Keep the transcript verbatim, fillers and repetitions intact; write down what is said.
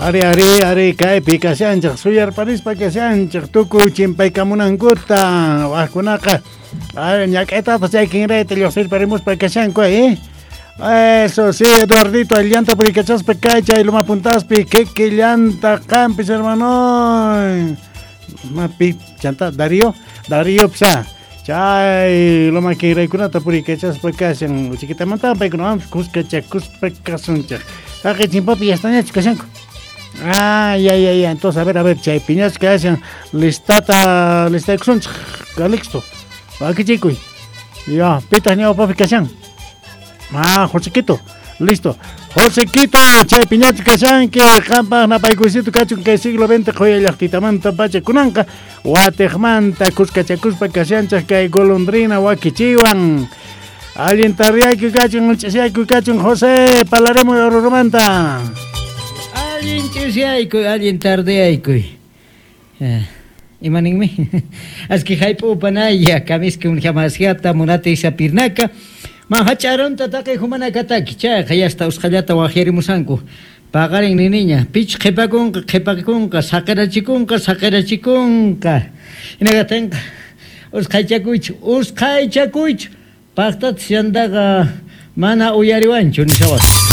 Ari, ari, ari, kaypi kashanchej, suyarparispa kashanchej, tukuy chimpaykamunankuta, wajkunaqa, ay, ñak'aytataq chay kinrayta lluqsirparimuspa kashanku, eh? Eso sí, Eduardito, llanta purikachaspa kay chay Loma Puntaspi, kiki llanta qampis, hermano. Mapi, chanta, Darío, Darío psa. Chay loma kinraykunata purikachaspa kashan, chiquitamanta paykuna kuskachakuspa kasunchej. Haqay chimpapi ya estañachu kashanku. Ah, ya, ya, ya. Entonces, a ver, a ver, chay piñachu kashan, listata, listaykusunchej, Calixto. Wakichikuy. Ya, pitaq ñawpapi kashan. Ah, Josequito, listo. Josequito, chay piñachu kashanki, qampaq napaykuysito kachun kay siglo veinte qhuya llaqtitamanta pacha kunanqa, watiqmanta kuskachakuspa kashanchej kay golondrina wakichiwan. Allin tardiyayku kachun, ch'isiyayku kachun, José, palarimuy Orurumanta. Allin ch'isiyaykuy, allin tardiyaykuy. Eh, imaninmi? Aski hayp'upanaya, kamisqa unjamasiata munati isapirnaka. Manhach'arunta taqay humanakataki, chayqa yasta usqhallata waqyarimusanku. Paqarin niniña, pich qhipakunqa, qhipakunqa, saqirachikunqa, saqirachikunqa. Hinagatinqa, usqhaychakuychu, usqhaychakuychu. Paqtatas yantaqa mana uyariwanchu nishawas.